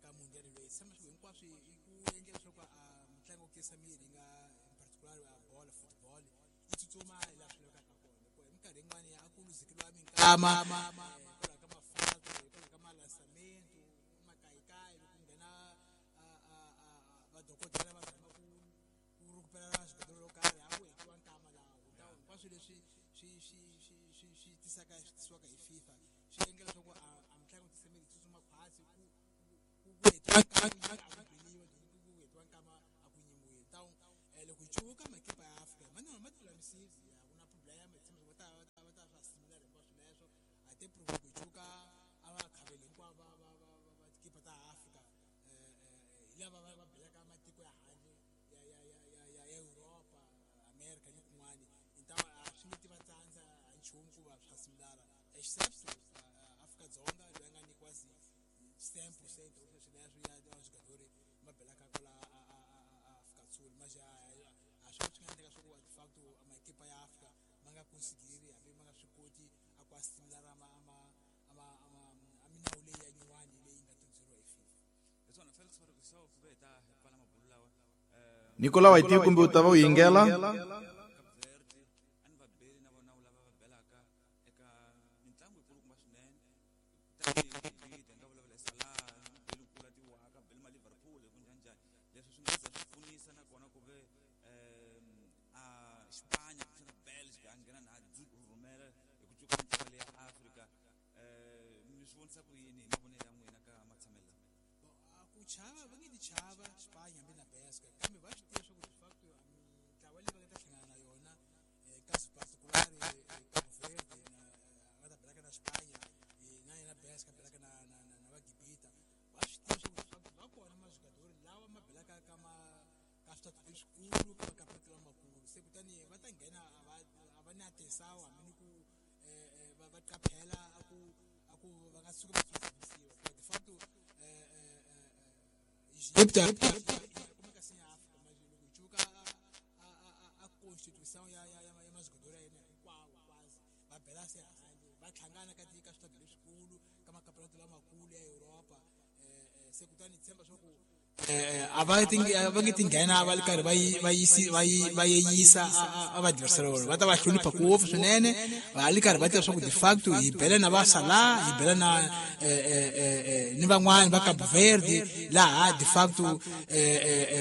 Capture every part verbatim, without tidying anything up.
Ka mundial leyi tshama swilo hinkwaswo i ku endla leswaku a mitlangu yo tiyisa miri yi nga in particular a bolo, football, yi tsutsuma hi laha swi lavekaka kona, hikuva hi minkarhi yin'wani a ku luzekeriwa minkama hikwalaho ka mafato, hikwalaho ka malansamento, makayikayi loko ku nghena vadokodela va zama ku ku rhukupela swibedhlele yo karhi, a ku hetiwa nkama laha. Hinkwaswo leswi swi swi swi swi swi tisaka swi tisiwaka hi FIFA swi endla leswaku a a mitlangu yo tiyisa miri yi tsutsuma khwatsi, ku ku ku hetiwa nkama a ku beliwa, ku hetiwa nkama a ku nyimiwi. Tawu loko hi cuka makipa ya Afrika ma ma tilulamisile, a ku na problem, hi tshemba va ta va ta va ta swa similar hinkwaswo leswo a te prove. Loko hi cuka a va khaveli hinkwavo va va va va tikipa ta Afrika hi lava va va belaka matiko ya handle ya ya ya ya ya ya Europa, America ni kun'wani, hi a swi nge ti va tsandza ha nchumu ku va swa similara, except Afrika-Dzonga loyi a nga nyikiwa ten percent of leswi leswi ya ya swigadori ma belaka kwala Afrika-Dzonga. Manje a swi swi nga endleka swa ku de facto makipa ya Afrika ma nga consideri, hambi ma nga swi koti a ku a similara ma ma ma ma a minawu leyi ya nyuwani leyi nga tundzeriwa hi FIFA. Hi swona, Felix Faruku, so ku ve hi ta hi pfala mabulu lawa. Nicolau, a yi tivi kumbe u ta va u yingela. Cape Verde a ni va beli na vona lava va belaka eka mitlangu yikulukumba swinene tanihi Gibita, hi nga vulavula hi Salah, beli nkulu a tiwaka beli ma Liverpool hi ku njhaninjhani, leswi swi nga za swi pfunisa nakona ku ve um a Xipanya kumbexana Belgica a nghena na rhumela hi ku cuka mitlangu leyi ya Afrika. um mi swi vonisa ku yini hi mavonelo ya n'wina ka matshamelo lama? A ku chava va nge ti chava Xipanya hambi na Belgica, kambe va swi tiva swa ku de facto mitlawa leyi va nga ta hlangana na yona, kasi particular Cabo Verde na va ta belaka na Xipanya na yena Belgica belaka na na na na va Gibita, va swi tiva swa ku de facto va kona majugadori lawa ma belaka ka ma ka switatu leswikulu, ka makapeto lamakulu. Se kutani va ta nghena a va a va na atenção, hambi ni ku va va qaphela a ku a ku va nga tshuki va tsutsumisiwa, hikuva de facto Egypta kumeka se ya Afrika. Manje loko hi cuka a a constitution ya ya ya ya majugadori ya yena hinkwawo kwazi va bela se handle, va hlangana ka ka switatu leswikulu, ka makapeto lamakulu ya Europa. Se kutani tshemba swa ku a va ti va nge ti nghena va ri karhi va yi va yisi va yi va yeyisa a va adversary vona, va ta va hlonipha ngopfu swinene, va ri karhi va tiva swa ku de facto hi bela na va Salah, hi bela na ni van'wani va Cabo Verde, laha de facto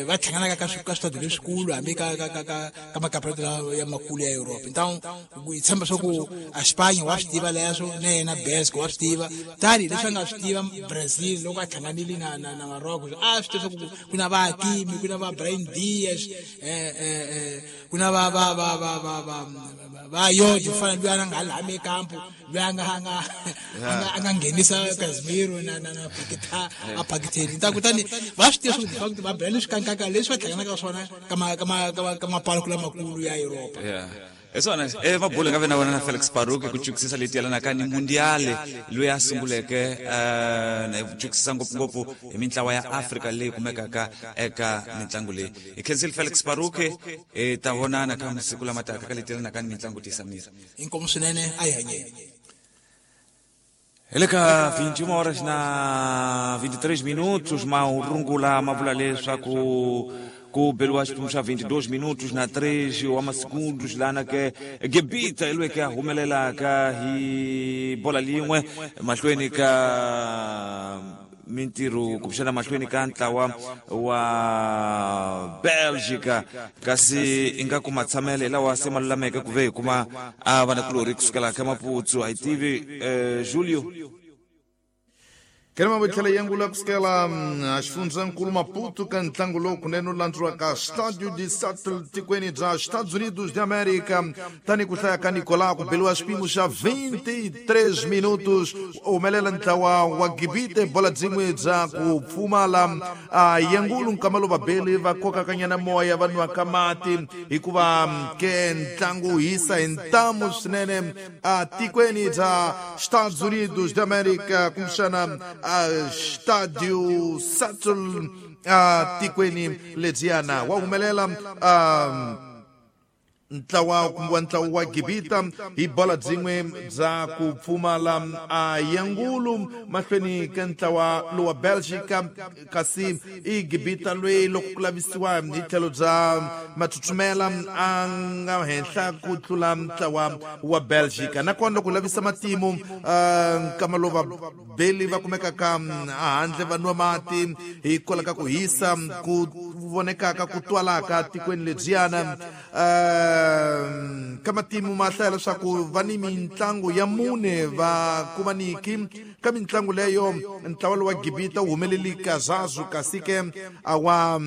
va hlanganaka ka ka switatu leswikulu, hambi ka ka ka ka ka makapeto ya makulu ya Europe. Ntawu hi tshemba swa ku a Xipanya wa swi tiva leswo, na yena Belgica wa swi tiva, tani leswi a nga swi tiva Brazil loko a hlanganile na na na Morocco, a swi tiva swa ku ku na va Hakimi, ku na va Brahim Diaz, eh eh eh ku na va va va va va va va Yodi fana loyi a nga laha ekampo, loyi a nga a nga a nga nghenisa Casemiro na na na Paqueta a Paqueteni ta. Kutani va swi tiva swa ku de facto va bela leswi kankaka leswi va hlanganaka swona ka ma ka ma ka mapaloko lamakulu ya Europa. Yeah, hi swona e mabulu nga ve na wena na Felix Paruke ku cukisisa leti yelanaka ni mundiale loyi a sunguleke um na cukisisa ngopfungopfu hi mintlawa ya Afrika leyi kumekaka eka mitlangu leyi. Hi khensile, Felix Paruke, hi ta vonana ka masiku lama taka ka leti yelanaka ni mitlangu tiyisa miri. Inkomu swinene, a hi hanyeni. Hi le ka vinte e uma horas na vinte e três minutos, marungula ma vula leswaku ku beliwa xiphemu xa vinte e dois minutos na três wa masegundos lana ke Gebita hi loyi ke a humelelaka hi bola lin'we mahlweni ka mintirho kumbexana mahlweni ka ntlawa wa Belgica, kasi ingaku matshamele hi lawa se ma lulameke ku ve hi kuma a vanakulorhi kusukela ka Maputsu. A hi tivi, eh, Julio. Kelema tlhela yengula kusukela a xifundzankulu Maputo ka ntlangu lowu kunene wu landzuriwaka Stadio de Sattel tikweni bya Estados Unidos de América. Tani ku hlaya ka Nicolau, ku beliwa xipimo xa vinte e três minutos, humelela ntlawa wa Gibite bola byin'we bya ku pfumala. A yengulu nkama lowu vabeli va kokakanyana moya, va nwaka mati, hikuva ke ntlangu wu hisa hi ntamu swinene a tikweni bya Estados Unidos de América, kumbexana a Stadio Sattel a tikweni lebyiyana. Wa humelela um, ntlawa kumbe wa ntlawa wa Gibita hi bola byin'we bya ku pfumala a yangulu mahlweni ka ntlawa lowa Belgica kasi i Gibita loyi loko ku lavisiwa hi tlhelo bya mathuthumela a nga henhla ku tlula ntlawa wa Belgica nakona loko lavisa matimu nkama lowu vabeli va kumekaka handle va nwa mati hikwalaho ka ku hisa ku vonekaka ku twalaka tikweni lebyiyana ka matimu ma hlaya leswaku va ni mintlangu ya mune va kumaniki ka mintlangu leyo ntlawa lowa Gibita wu humeleli kazazu kasi ke a wa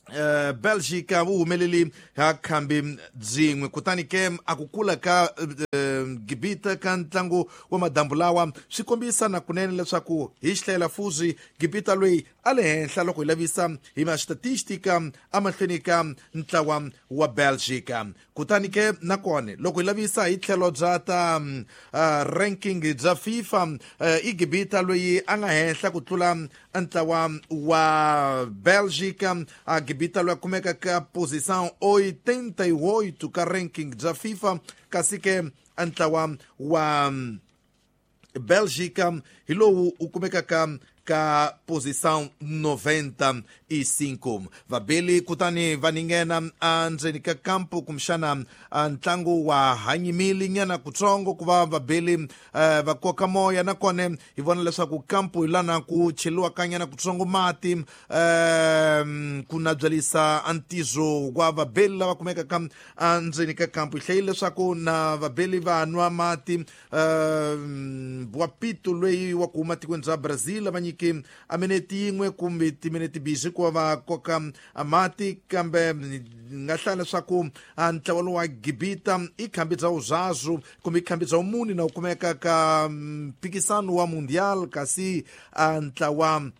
Uh, Belgica wu humeleli ha khambi byin'we kutani ke a ku kula ka uh, Gibita ka ntlangu wa madambu lawa swi kombisa na kunene leswaku hi xihlayela fuzi Gibita loyi a le henhla loko hi lavisa hi ma-statistika emahlweni ka ntlawa wa Belgica kutani ke nakona loko hi lavisa hi tlhelo bya ta uh, ranking bya FIFA uh, i Gibita loyi a nga henhla ku tlula ntlawa wa Belgica a Gibita loyi a kumeka ka posição oitenta e oito ka ranking bya FIFA kasi ke ntlawa wa Belgica hi lowu u kumekaka ka posição noventa e cinco vabeli kutani va ninghena endzeni ka kampo kumbexana ntlangu wa hanyimile nyana kutsongo ku va vabeli va koka moya nakona hi vona leswaku kampo hi lana ku cheliwaka nyana kutsongo mati ku nabyalisa ntizo wa vabeli lava kumekaka endzeni ka kampo hi hlayile leswaku na vabeli va nwa mati wa pito loyi wa ku huma tikweni bya Brazil va nyike a minete yin'we kumbe timinete bizi ku va koka mati kambe nga hlaya leswaku ntlawa lowu wa Gibita i khambi bya uzazu kumbe i khambi bya umuni na wu kumeka ka mpikisano wa mundial kasi ntlawa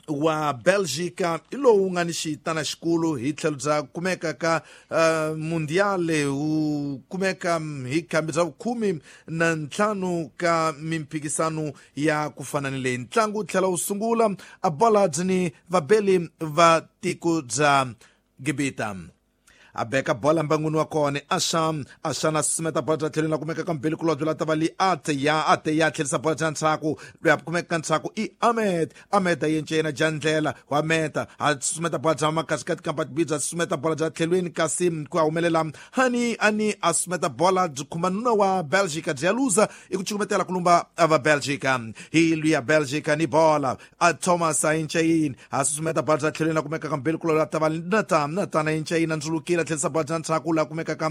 wa Belgica i lowu nga ni xitana xikulu hi tlhelo bya kumeka ka uh, mundial wu kumeka hi khambi bya vukhume na ntlhanu ka mimphikisano ya ku fana ni leyi ntlangu wu tlhela wu sungula a bola byi ni vabeli va tiko bya Gibita a beka bola mbangwini wa kona axa axa na susumeta bola bya tlhelweni la kumeka ka mbeli kulobye la ta va li ate ya ate ya tlherisa bola bya ndzhaku loyi a kumeka ka ndzhaku i Ahmed Ahmed a yence yena jandlela wa meta a susumeta bola bya makasikati kampa bibya susumeta bola bya tlhelweni kasi ku a humelela hani ani a susumeta bola byi khumba nuna wa Belgica byi ya luza i ku cukumetela ku lumba va Belgica hi luya Belgica ni bola a Thomas a yence yini a susumeta bola bya tlhelweni la kumeka ka mbeli kulobye la ta va Nathan Nathan a yence yini a ndzulukile tlherisa bola bya ndzhaku la kumeka ka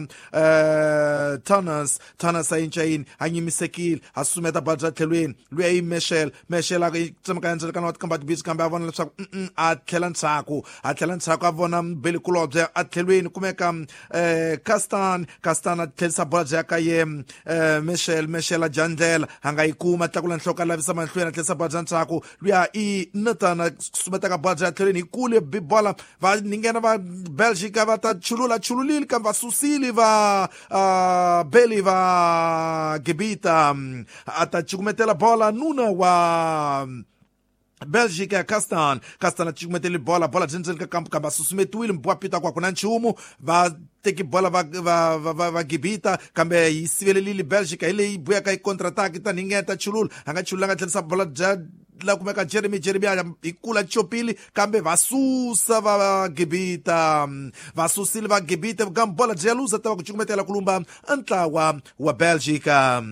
Thomas Thomas a yence yini a nyimisekile a susumeta bola bya tlhelweni luya i Michel Michel a tsemaka endzeni wa tikamba tibisi kambe a vona leswaku a tlhela ndzhaku a tlhela ndzhaku a vona mbeli kulobye a tlhelweni kumeka Castan Castan a tlherisa bola bya ka ye Michel Michel a jandlela a nga yi kuma tlakula nhloko a lavisa mahlweni a tlherisa bola bya ndzhaku luya i Nathan a susumetaka bola bya tlhelweni hi kule bola va ninghena va Belgica va ta chulula chululile kambe va susile va uh, beli va Gibita a ta cukumetela bola nuna wa Belgica Castan Castan a cukumetele bola bola byi ndzeni ka kampo kambe a susumetiwile mbwapita kwa ku na nchumu va teki bola va va va va Gibita kambe yi sivelelile Belgica hi leyi buyaka yi contre-attaque ta ningeta chulula a nga chululanga tlherisa bola bya la kumeka Jeremy Jeremy a hi kula chopile kambe va susa va Gibita va susile va Gibita kambe bola byi ya luza ta va ku cukumetela ku lumba ntlawa wa Belgica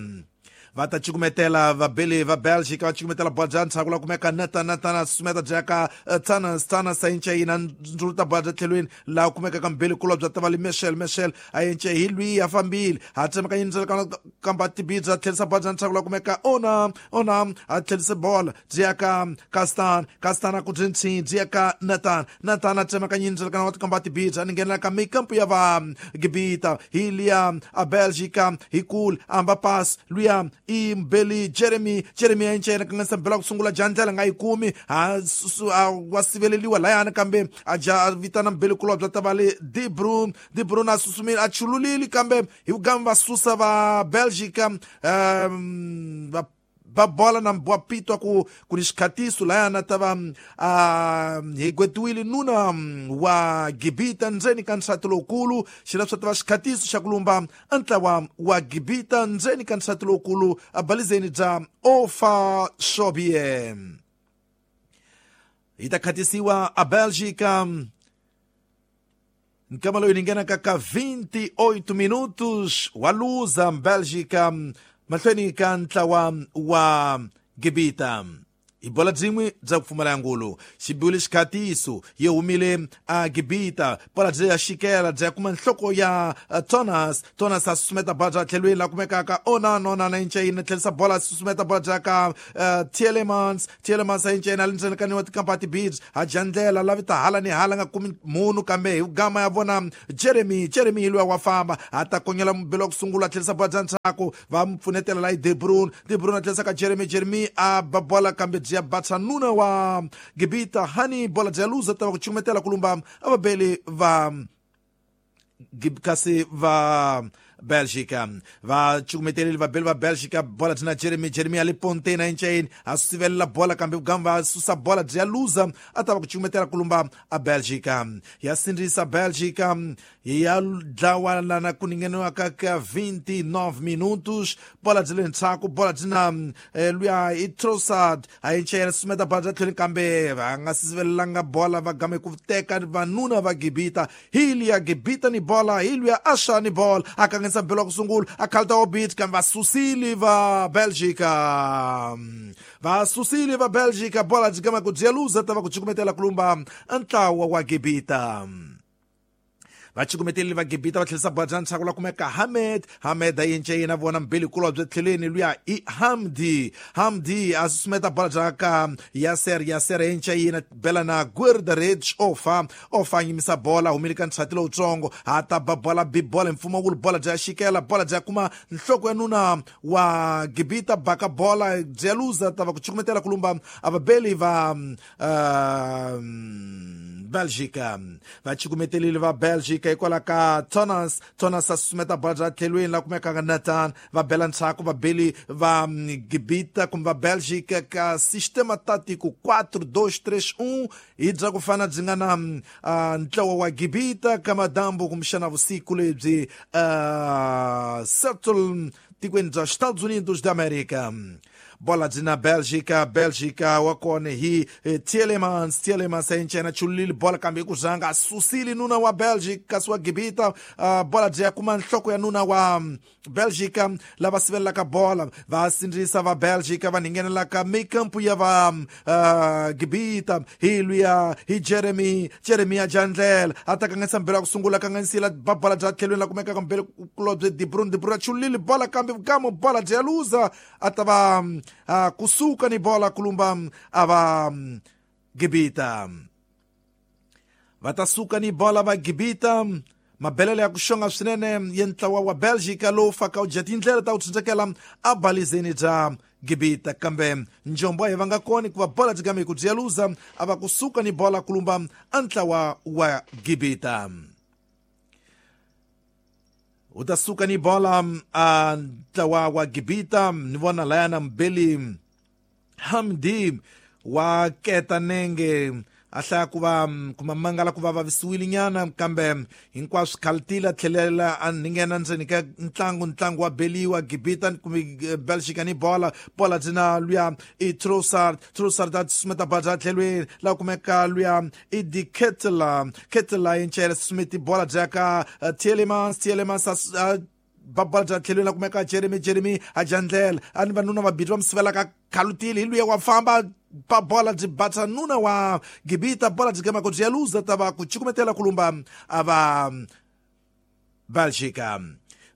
va ta cukumetela vabeli va Belgica va cukumetela bola bya ndzhaku la kumeka Nathan Nathan a susumeta bya ka Thanos Thanos a yence yina ndzuluta bola bya tlhelweni laha kumeka ka mbeli kulobye ta va li Michel Michel a yence hi lwiyi a fambile a tsemaka yindzela kamba tibidza a tlherisa bola bya ndzhaku la kumeka ona ona a tlherise bola byi ya ka Castan Castan a ku byi ntshini byi ya ka Nathan Nathan a tsemaka yindzela kana wa tikamba tibidza a ninghenela ka mikampu ya va Gibita hi liya a Belgica hi kule a amba pass luya i mbeli Jeremy Jeremy a yence yena kanganyisa mbela ku sungula jandlela nga yi kumi a wa siveleliwa layani kambe a ja a vitana mbeli kulobye ta va le De Bruyne De Bruyne a susumile a chululile kambe hi vugami va susa va Belgica um va ba bola na mbwa pitwa ku ku ni xikhatiso layana ta va a hi gwetiwile nuna wa Gibita ndzeni ka nsati lowukulu xi leswi ta va xikhatiso xa ku lumba ntlawa wa Gibita ndzeni ka nsati lowukulu a balizeni bya Ofa Shobie hi ta khatisiwa a Bélgica nkama loyi ni nghenaka ka vinte e oito minutos wa luza Bélgica mahlweni ka ntlawa wa Gibita hi bola byin'we bya ku pfumala ngulu xi biwile xikhatiso yi humile a Gibita bola byi ya xikela byi ya kuma nhloko ya Thomas Thomas a susumeta bola bya tlhelweni la kumekaka Onana Onana inceyini tlhelisa bola a susumeta bola bya ka Tielemans Tielemans a inceyini a le ndzeni ka niwa tikampa ti-beach a dya ndlela lavi ta hala ni hala nga kumi munhu kambe hi gama ya vona Jeremy Jeremy hi luya wa famba a ta konyela mubelo wa ku sungula a tlhelisa bola bya ndzhaku va mu pfunetela la hi De Bruyne De Bruyne a tlhelisa ka Jeremy Jeremy a ba bola kambe bya batsa nuna wa Gibita hani bola bya luza ta va ku chumetela kulumba avabeli va kasi va Bélgica va chukumeteleli vabeli va Bélgica bola byi na Jeremy Jeremy a le ponteni a inceyini a sivelela bola kambe vugamba va susa bola byi ya luza a ta va ku chukumetela kulumba a Bélgica ya sindzisa Bélgica ya dlawa lana ku ningheniwaka ka vinte e nove minutos bola byi le ndzhaku bola byi na luya i Trossard a inceyini sumeta bola bya tlhelo kambe va nga sivelelanga bola va game ku teka vanuna va Gibita hi liya Gibita ni bola hi luya Asha ni bola a kanganyisa mbelo wa ku sungula a khalta obit kambe va susile va Bélgica va susile va Bélgica bola byi gama ku byi luza ta va ku cukumetela kulumba ntlawa wa Gibita va cukumeteleli va Gibita va tlhelisa bola bya ndzhaku la kumeka Hamed Hamed a yence yena vona mbelikulu bya tlheleni luya i Hamdi Hamdi a susumeta bola bya ka Yaser Yaser yence yena bela na Guerdarich Ofa Ofa yimisa bola humile ka ntshati lowutsongo a ta ba bola bi bola mfumo wulu bola bya xikela bola bya kuma nhloko ya nuna wa Gibita baka bola bya luza ta va ku cukumetela kulumba avabeli va uh, Bélgica va cukumeteleli va Bélgica hikwalaho ka Thomas Thomas a susumeta bola bya tlhelweni la kumekaka Nathan va bela ndzhaku vabeli va Gibita kumbe va Bélgica ka sistema tático quatro dois três um hi bya ku fana byi nga na uh, ntlawa wa Gibita ka madambu kumbexana vusiku lebyi uh, Settle tikweni bya Estados Unidos da América bola byi na Bélgica Bélgica wa kona hi Tielemans Tielemans a incena chulile bola kambe ku zanga a susile nuna wa Bélgica kasi wa Gibita uh, bola byi ya kuma nhloko ya nuna wa Bélgica lava sivelelaka bola va sindzisa va Bélgica va nghenelaka mikampu ya va uh, Gibita hi luya hi Jeremy Jeremy a jandlela a ta kanganyisa mbelo ya ku sungula kanganyisila ba bola bya tlhelweni la kumekaka mbelo kulobye De Bruyne De Bruyne chulile bola kambe gamo bola byi ya luza a ta va uh, kusuka ni bola kulumba ava Gibita va ta suka ni bola va Gibita mabelele ya ku xonga swinene ya ntlawa wa Bélgica lowu faka u dya tindlela ta ku tshundzekela a balizeni bya Gibita kambe njombo a hi va nga koni ku va bola byi game ku byi ya luza a va kusuka ni bola kulumba a ntlawa wa Gibita u ta suka ni bola a ntlawa wa Gibita ni vona layana mbeli Hamdi wa keta nenge a hlaya ku va kuma mangala ku va vavisiwile nyana kambe hinkwaswo khaltile a tlhelela a nghena ndzeni ka ntlangu ntlangu wa beliwa Gibita kumbe Bélgica ni bola bola byi na luya i Trossard Trossard a susumeta bola bya tlhelweni la kumeka luya i Di Ketela Ketela yi ncela susumeti bola bya ka Tielemans Tielemans a ba bola bya tlhelweni la kumeka Jeremy Jeremy a dya ndlela a ni vanuna vabiri va mu sivelaka khalutile hi luya wa famba ba bola byi batsa nuna wa Gibita bola byi gama ku byi ya luza ta va ku cukumetela kulumba a va Bélgica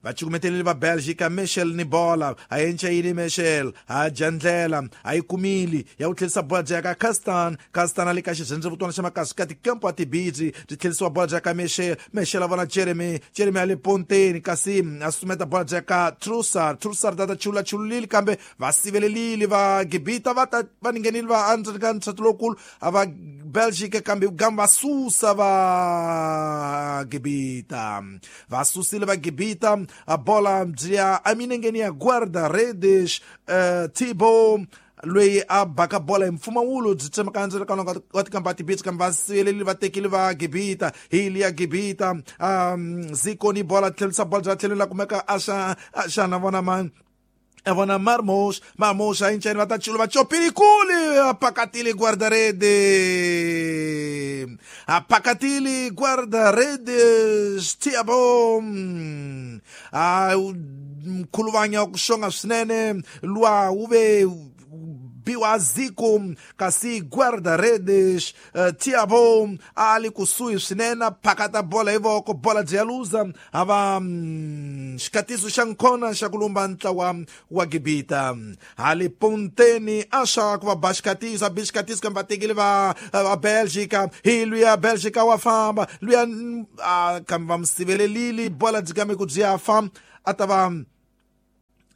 va cukumeteleli va Bélgica Michel ni bola a yenceyini Michel a dya ndlela a yi kumile ya ku tlhelisa bola bya ka Castan Castan a le ka xirhendzevutwana xa makasi ka tikampo a tibidzi byi tlhelisiwa bola bya ka Michel Michel a vona Jeremy Jeremy a le ponteni kasi a susumeta bola bya ka Trossard Trossard a ta chula chululile kambe va sivelelile va Gibita va ta va nghenile va endzeni ka ntshato lowukulu a va Bélgica kambe gamba va susa va Gibita va susile va Gibita A bola bya eminengeni ya guarda-redes uh, Thibaut loyi a baka bola hi mpfumawulo byi tsemaka ndzilakano wa tikamba tibitsi kambe va siveleli va tekile va Gibita hi liya Gibita um Ziko ni bola tlherisa bola bya tlhelo la kumeka Asha Asha na vona man Avona Marmos, Marmos a incheni va ta chulu va chopilikuli apakatili guarda-rede apakatili guarda-redes Thiago a mkhuluvanya ku xonga swinene lwa wu ve biwa Ziko kasi guarda-redes uh, Thiago ali kusuhi swinene phakata bola hi voko bola byi ya luza ava mm, xikatiso xa nkhona xa ku lumba ntlawa wa Gibita hali ponteni a xa ku va ba xikatiso a bi xikatiso kambe va tekile va va Belgica hi luya Belgica wa famba luya uh, kambe va mi sivelelile bola byi kambe ku byi ya famba a ta va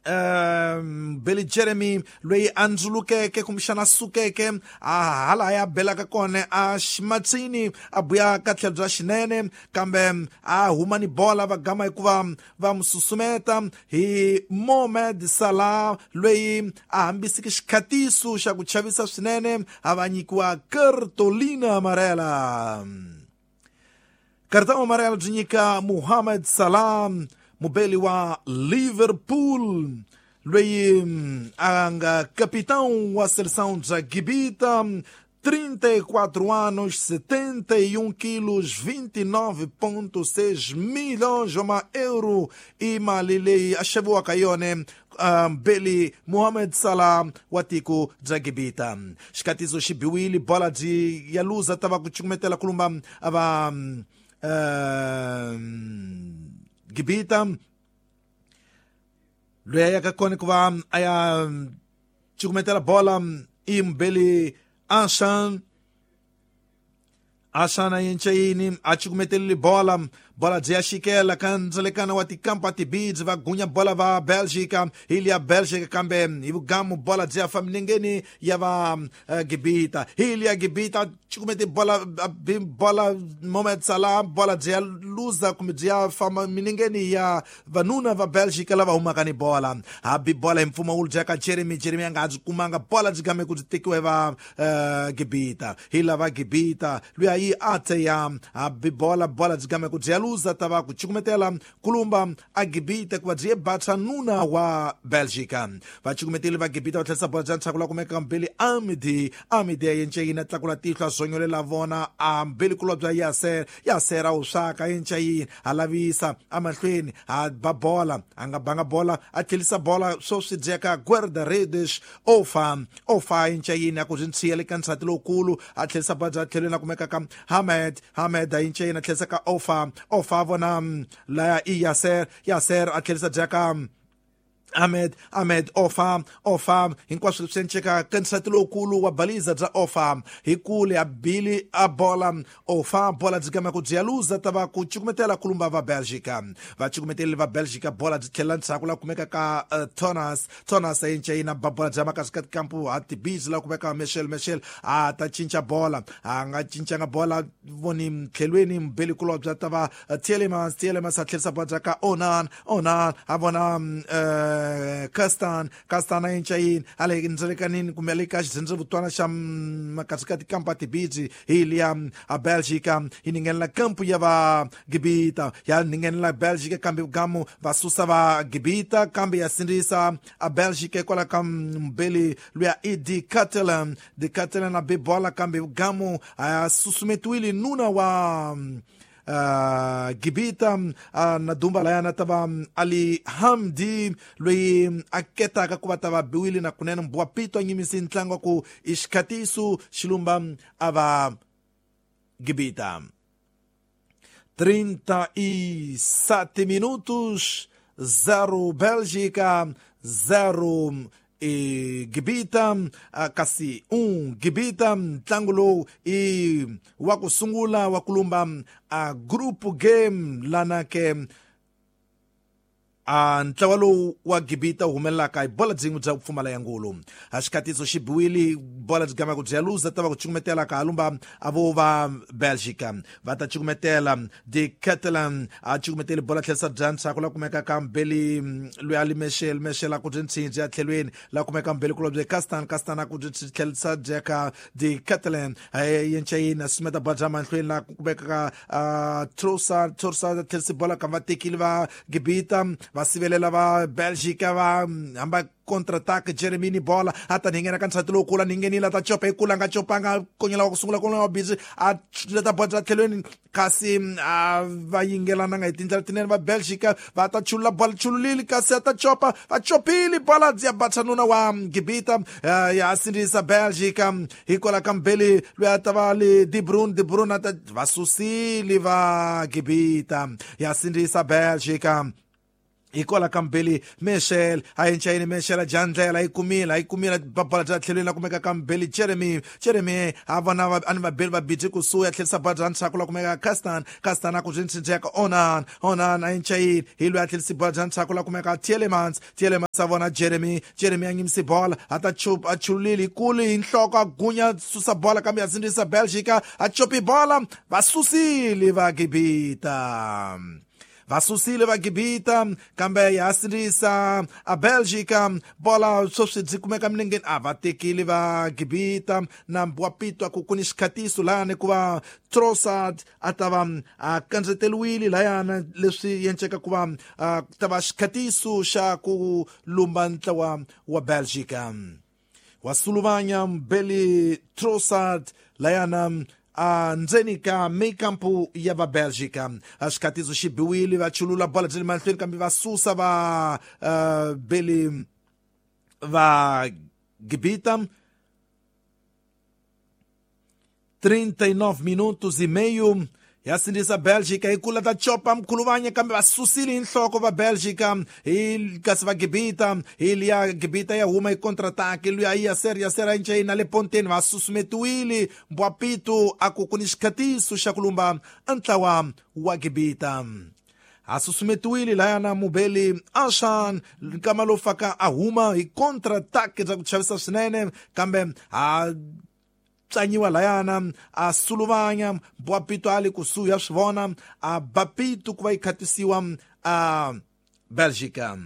Um, Billy Jeremy loyi a ndzulukeke kumbexana sukeke a hala ya belaka kona a ximatsini a buya ka tlhelo bya xinene kambe a huma ni bola va gama hikuva va mu susumeta hi Mohamed Salah loyi a hambisiki xikhatiso xa ku chavisa swinene a va nyikiwa cartolina amarela. Cartão amarelo byi nyika Mohamed Salah mubeli wa Liverpool loyi a nga capitão wa seleção bya Gibita, trinta e quatro anos, setenta e um quilos, vinte e nove vírgula seis milhões de euro i mali leyi a xaviwaka yona um, Beli Mohamed Salah wa tiko bya Gibita. Xikatiso xi biwile bola byi ya luza ta va ku cukumetela ku lumba a va um, Gibita loyi a yaka kona ku va a ya cukumetela bola i Mbeli Ashan Ashan a yenceyini a cukumetelile bola bola byi ya xikela ka ndzalekana wa tikampa tibidzi va gunya bola va Belgica hi liya Belgica kambe hi vugamu bola byi ya fa milengeni ya va uh, Gibita hi liya Gibita cukumete bola bi bola Mohamed Salah bola byi ya luza kumbe byi ya fa milengeni ya vanuna va Belgica lava humaka ni bola habi bola hi mpfumawulo byi ya ka Jeremy Jeremy a nga ha byi kumanga bola byi game ku byi tekiwa hi va uh, Gibita hi lava Gibita luya yi ate ya habi bola bola byi game ku byi ya luza ta va ku cukumetela kulumba a Gibita ku va byi batsa nuna wa Belgica va cukumeteli va Gibita va tlherisa bola bya ntshaku la kumeka Mbeli Amidi Amidi ya yenceyini a tlakula tihlo a zonyolela vona a Mbeli kulobya Yaser Yaser a wu swaka yenceyini a lavisa amahlweni a ba bola a nga banga bola a tlherisa bola swo swi dyeka guarda-redes ofa ofa yenceyini a ku byi ntshiya le ka nsati lowukulu a tlherisa bola bya tlhelweni a kumeka ka Hamed Hamed a yenceyini a tlherisa ka ofa ofa vona laya i Yaser Yaser a tlherisa dyaka Ahmed Ahmed Ofa Ofa hinkwaswo leswi enceka ka nsati lowukulu wa baliza bya Ofa hi kule a bili a bola Ofa bola byi gama ku byi ya luza ta va ku cukumetela kulumba va Belgica va cukumeteli va Belgica bola byi tlhela ndzhaku la kumeka ka uh, Thomas Thomas a yenceyina ba bola bya makasi ka tikampu a tibizi la kumeka Michel Michel a ta cinca bola a nga cincanga bola voni mtlhelweni mbeli kulobya ta va Tielemans Tielemans a tlherisa bola bya ka Onan Onan a vona uh, Kastan Kastan a yencayini a le ndzelekanini kumbe le ka xidzhendzevutwana xa makasi ka tikampa tibidzi hi liya a Belgica yi ningenela kampu ya va Gibita ya ningenela Belgica kambe gamu va susa va Gibita kambe ya sindzisa a Belgica hikwalaho ka mbeli luya i De Catalan De Catalan a be bola kambe gamu a susumetiwile nuna wa Uh, Gibita uh, na dumba laya na tava Ali Hamdi loyi a ketaka ku va ta va biwile na kunene mbwa pito a nyimisi ntlangu ku i xikhatiso xilumba a va Gibita. trinta e sete minutos, zero Bélgica, zero e Gibita, kasi um Gibita ntlangu lowu i wa ku sungula wa ku lumba a group game lana ke A ntlawa lowu wa Gibita wu humelelaka hi bola byin'we bya ku pfumala ya ngulu. A xikatiso xi biwile bola byi gama ku bya luza ta va ku cukumetela ka halumba a vo va Belgica va ta cukumetela De Catalan a cukumetele bola tlherisa bya ntshaku la kumeka ka Mbeli loyi a li Michel Michel a ku byi ntsinji ya tlhelweni la kumeka Mbeli kulobye Castan Castan a ku byi tlherisa bya ka De Catalan yenchayina sumeta bola bya mahlweni la kumeka ka Trossard Trossard tlherisa bola ka va tekile va Gibita va sivelela va Belgica va hamba contre-attaque Jeremini bola ata ningena ka nsati lowu kula ningenile ta chopa ikula nga chopanga konyela wa ku sungula konyela wa busy a leta bola tlhelweni kasi a va yingelana nga hi tindlela tinene va Belgica va ta chulula bola chululile kasi a ta chopa va chopile bola ya batsanuna wa Gibita ya sindzisa Belgica hikwalaho ka Mbeli loyi a ta va le De Bruyne De Bruyne a ta va susile va Gibita ya sindzisa Belgica hikwalaho ka Mbeli Michel a yenchayini Michel a jandlela yi kumile yi kumile bola bya tlhelweni la kumeka ka Mbeli Jeremy Jeremy a vona a ni vabeli va biji kusuhi a tlherisa bola bya ntshaku la kumeka Castan Castan a ku byi ntsinjeka Onan Onan a yenchayini hi loyi a tlherisi bola bya ntshaku la kumeka Tielemans Tielemans a vona Jeremy Jeremy a nyimisi bola a ta chupa a chululile hi kulu hi nhloko a gunya susa bola kambe a sindzisa Belgica a chopi bola va susile va Gibita va susile va Gibita kambe ya sindzisa a Belgica bola sweswi byi kumeka milengeni a va tekile va Gibita na Mbwapito ku ku ni xikhatiso lani ku va Trossard a ta va a kandzeteriwile layana leswi yenceka ku va ta va xikhatiso xa ku lumba ntlawa wa Belgica wa suluvanya Mbeli Trossard layana a ndzeni ka mikampu ya va Belgica a xikhatiso xi biwile va chulula bola byi le mahlweni kambe va susa va uh, Beli va Gibita. trinta e nove minutos e meio ya sindzisa Belgica hi kula ta chopa mkhuluvanya kambe va susile hi nhloko va Belgica hi kasi va Gibita hi liya Gibita ya huma hi contre-attaque luya yi Yaser Yaser a ncayina le ponteni va susumetiwile Mbwapito a ku ku ni xikhatiso xa ku lumba ntlawa wa Gibita a susumetiwile layana Mubeli Ashan nkama lowu faka a huma hi contre-attaque bya ku chavisa swinene kambe a tsanyiwa layana a suluvanya Mbwapito a le kusuhi ya swi vona a Bapito ku va yi khatisiwa a Belgica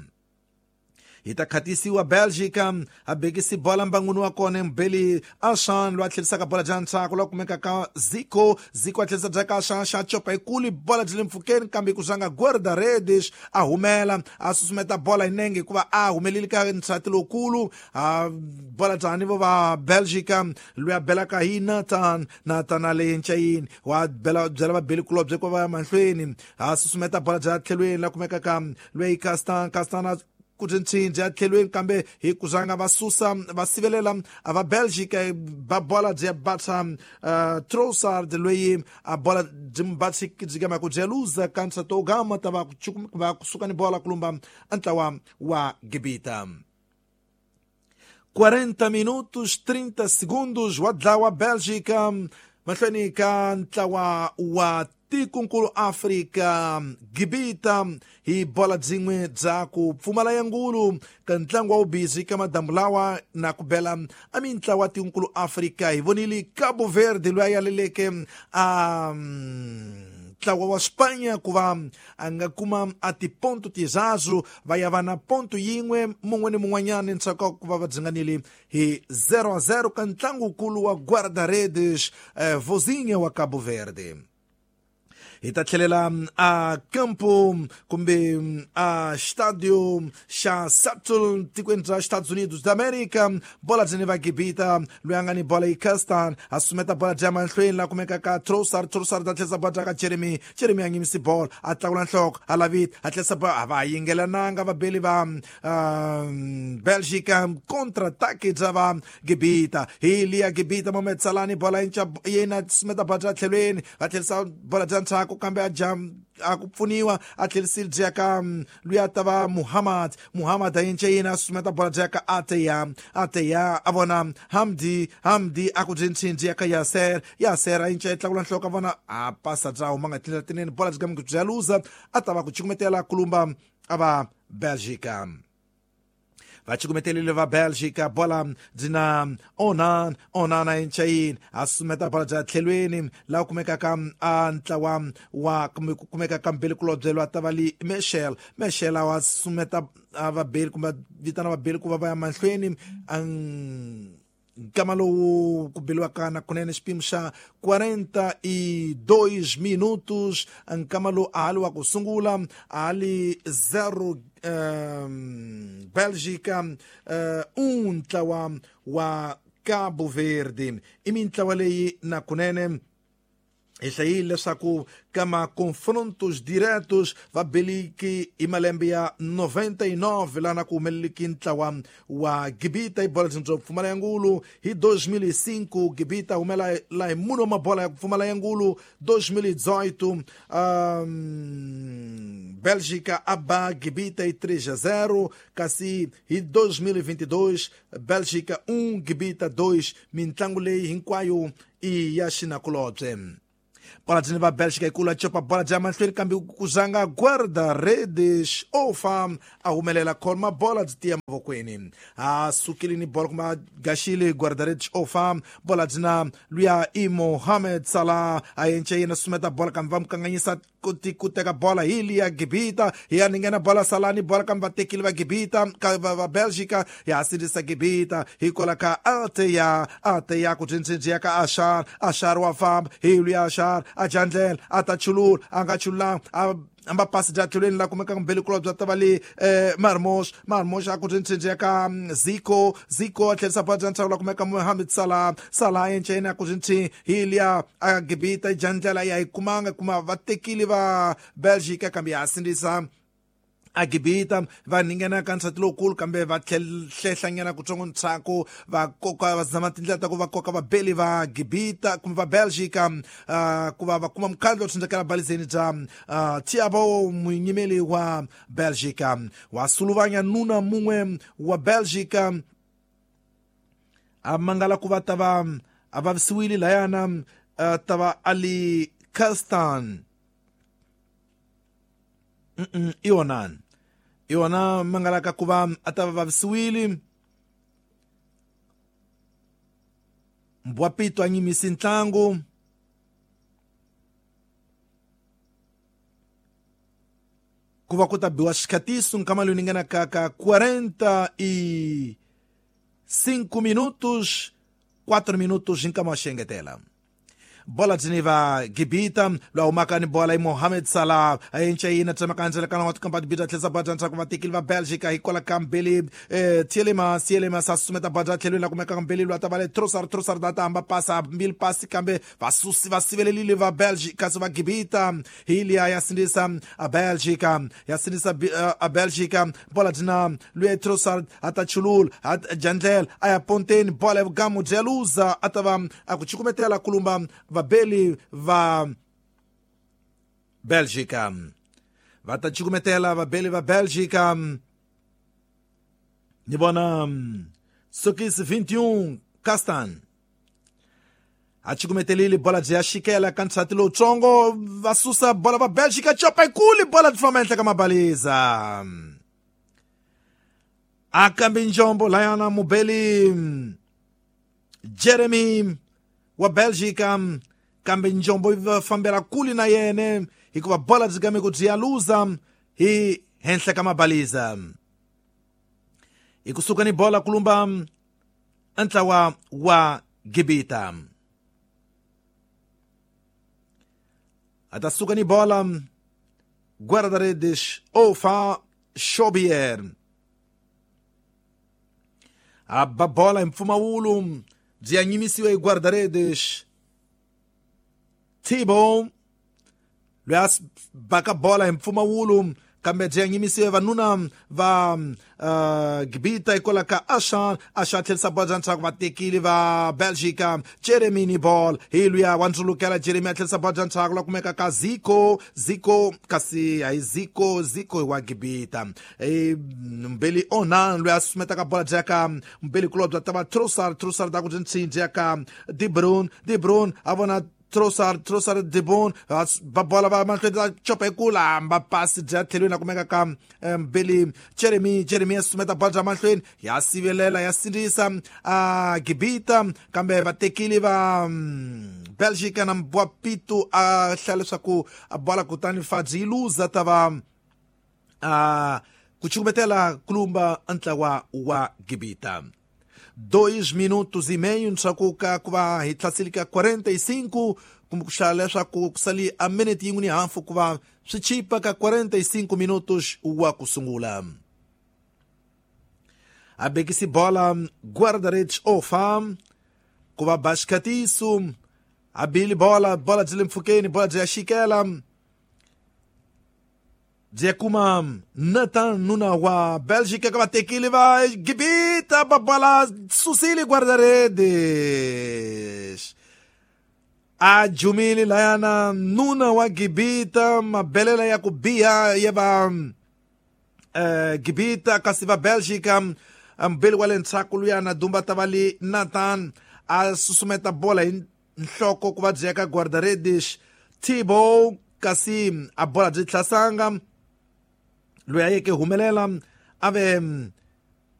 yi ta khatisiwa Belgica a bekisi bola mbanguni wa kona Mbeli Ashan loyi a tlherisaka bola bya ntshaku loyi a kumeka ka Zico Zico a tlherisa bya ka Ashan xa chopa hikulu bola byi le mpfhukeni kambe ku zanga Guarda-redes a humela a susumeta bola hi nenge hikuva a humelile ka nsati lowukulu a bola byani vo va Belgica loyi a belaka hi Nathan Nathan a le ncayini wa bela byela vabeli kulobye ku va ya mahlweni a susumeta bola bya tlhelweni la kumeka ka loyi Castan Castan a ku ntsinji ya tlhelweni kambe hi ku zanga va susa va sivelela a va Belgica va bola bya batsa uh, Trossard loyi a bola byi batsi byi gama ku bya luza ka nsato gama ta va va kusuka ni bola kulumba ntlawa wa Gibita. quarenta minutos trinta segundos wa dlawa Belgica mahlweni ka ntlawa wa tikonkulu Afrika Gibita hi bola byin'we bya ku pfumala ya ngulu ka ntlangu wa wubizi ka madamu lawa na ku bela a mintlawa tikonkulu Afrika hi vonile Cabo Verde loyi a yaleleke a ntlawa wa Spanya ku va a nga kuma a tiponto tizazu va ya va na ponto yin'we mun'we ni mun'wanyana ntsako ku va va dzinganile hi zero a zero ka ntlangukulu wa Guarda-redes eh, Vozinha wa Cabo Verde. Hi ta tlhelela a campo kumbe a estádio xa Seattle tikweni bya Estados Unidos da América bola byi ni va Gibita loyi a nga ni bola yi Castan a sumeta bola bya mahlweni la kumeka ka Trossard Trossard a tlherisa bola bya ka Jeremy Jeremy a nyimisi bola a tlakula nhloko a lavita a tlherisa bola a va yingelananga vabeli va Belgica contre-attaque bya va Gibita hi liya Gibita Mohamed Salah ni bola yinca yena sumeta bola bya tlhelweni va tlherisa bola bya ntshaku kambe a jam a ku pfuniwa a tlherisile bya ka loyi a ta va Muhammad Muhammad a yince yena a susumeta bola bya ka Ateya Ateya a vona Hamdi Hamdi a ku byi ntsinji ya ka Yaser Yaser a yince tlakula nhloko a vona a pasa bya huma nga tindlela tinene bola byi ka bya luza a ta va ku cukumetela kulumba a va Bélgica. Va cukumetelile va Bélgica, bola dzina Onan, Onana enchayin a sumeta bola bya tlhelweni laha kumekaka a ntlawa wa kumekaka mbili kulobye lwa ta va li Michel, Michel a sumeta a vabeli kumbe vitana vabeli ku va va ya mahlweni nkama lowu ku beliwaka na kunene xipimo xa quarenta e dois minutos nkama lowu a ha li wa ku sungula a ha li zero um, Bélgica uh, um ntlawa wa Cabo Verde. I mintlawa leyi na kunene hi hlayile leswaku ka ma-confrontos diretos va beliki hi malembe ya noventa e nove laha ku humeleliki ntlawa wa Gibita hi bola byo pfumala ya ngulu hi dois mil e cinco Gibita humela la hi munhu wa mabola ya ku pfumala ya ngulu dois mil e dezoito um, Bélgica a ba Gibita hi três a zero kasi hi dois mil e vinte e dois Bélgica um Gibita dois mintlangu leyi hinkwayo i ya xinakulobye. Bola dzini va Bélgica yi kula copa bola dya mahlweni kambe ku zanga guarda-redes ofa a humelela khoma bola byi tiya mavokweni a sukile ni bola kuma gaxile guarda-redes ofa bola dzina luya i Mohamed Salah a yence yena sumeta bola kambe va mu kanganyisa ku ku teka bola hi liya Gibita hi ya ninghena bola Salah ni bola kambe va tekile va Gibita ka va va Bélgica ya sindzisa Gibita hi kola ka Ateya Ateya ku dzindzindziya ka Ashar Ashar wa famba hi luya Ashar a jandlela a ta chulula a nga chululanga a amba pasi bya tlhelweni la kumekaka mbeli kulobye bya ta va le eh, Marmos Marmos a ku dzindzindziya ka Zico Zico a tlherisa bola bya ntshaku la kumeka Mohamed Salah Salah enceni a ku dzindzi hi liya a Gibita jandlela ya yi kumanga kuma va tekile va Bélgica kambe ya sindzisa a Gibita va ninghena ka nsati lowukulu kambe va tlhehlanyana kutsongo ntshaku va koka va zama tindlela ta ku va koka vabeli va Gibita kumbe va Bélgica uh, ku va va kuma mukhandlo tsindzakela balizeni bya uh, Thiago munyimeli wa Bélgica wa suluvanya nuna mun'we wa Bélgica a mangala ku va ta va a vavisiwile layana uh, ta va Ali Kastan. Mm-mm, iwonani iwona mangalaka ku va a ta va vavisiwile Mbwapito a nyimisi ntlangu ku va ku ta biwa xikhatiso nkama lowu ni nga ka ka quarenta e cinco minutos quatro minutos hi nkama wa xengetela. Bola dzini va Gibita lwa humaka ni bola i Mohamed Salah a encayina tsemaka ndzela kana wa tikamba tibita tlhesa bola ntshaku va tekile va Bélgica hi kola ka mbili eh, Tielemans Tielemans a susumeta bola tlhelweni la kumeka mbili lwa ta va le Trossard Trossard ta hamba pasa mbili pasi kambe va susi va sivelelile va Bélgica kasi va Gibita hi liya ya sindzisa a Bélgica ya sindzisa a Bélgica bola dzina luya Trossard a ta chulula a jandlela a ya ponteni bola ya vugamu bya luza a ta va a ku cukumetela kulumba vabeli va Bélgica va ta cukumetela vabeli va Bélgica ni vona sokisi vinte e um Castan a cukumetelile bola byi ya xikela ka nsati lowutsongo va susa bola va Bélgica copa yikulu bola byi famba ehenhla ka mabaliza a kambe njombo layana mubeli Jeremy wa Bélgica kambe njombo yi va fambela kule na yene hikuva bola byi game ku byi ya luza hi henhla ka mabaliza hi kusuka ni bola kulumba ntlawa wa Gibita a ta suka ni bola guarda-redes Ofa Xobier a ba bola hi mpfumawulo byi ya nyimisiwa hi guarda-redes Thibaut loyi a baka bola hi mpfumawulo kambe byi ya nyimisiwa hi vanuna va uh, Gibita hikwalaho ka Ashan Ashan tlherisa bola bya ntshaku va tekile va Bélgica Jeremy ni ball hi luya wa ndzulukela Jeremy a tlherisa bola bya ntshaku la kumeka ka Zico Zico kasi hayi Zico Zico wa Gibita e, mbeli Onan loyi a sumetaka bola bya ka mbeli kulobye ta va Trossard Trossard ta ku byi ntsinji ya ka De Bruyne De Bruyne a vona Trossard Trossard de Bon va bola va mahlweni va chopa hi ku lamba pasi bya tlhelweni a kumeka ka Mbeli Jeremy Jeremy ya susumeta bola bya mahlweni ya sivelela ya sindzisa a Gibita kambe vatekile va Belgica na Mbwapito a hlaya leswaku a bola kutani Fadzi yi luza ta va a ku chukumetela kulumba ntlawa wa Gibita. Dois minutos e meio ntshaku ka ku va hi tlhasile ka quarenta e cinco kumbe ku hlaya leswaku ku sali a minute yin'we ni hafu ku va swi chipa ka quarenta e cinco minutos wa ku sungula. A bekisi bola guarda-redes ofa ku va Bascatiso a bili bola bola byi le mpfhukeni bola byi ya xikela byi kuma Nathan nuna wa Belgica ka vatekile va Gibita ba bola susile guarda-redes a jumile layana nuna wa Gibita mabelela ya ku biha ya va eh, Gibita kasi va Belgica mbeli wa le ndzhaku luyana dumba ta va li Nathan a susumeta bola hi nhloko ku va byi ya ka guarda-redes Thibaut kasi a bola byi hlasanga loyi a yeke humelela a ve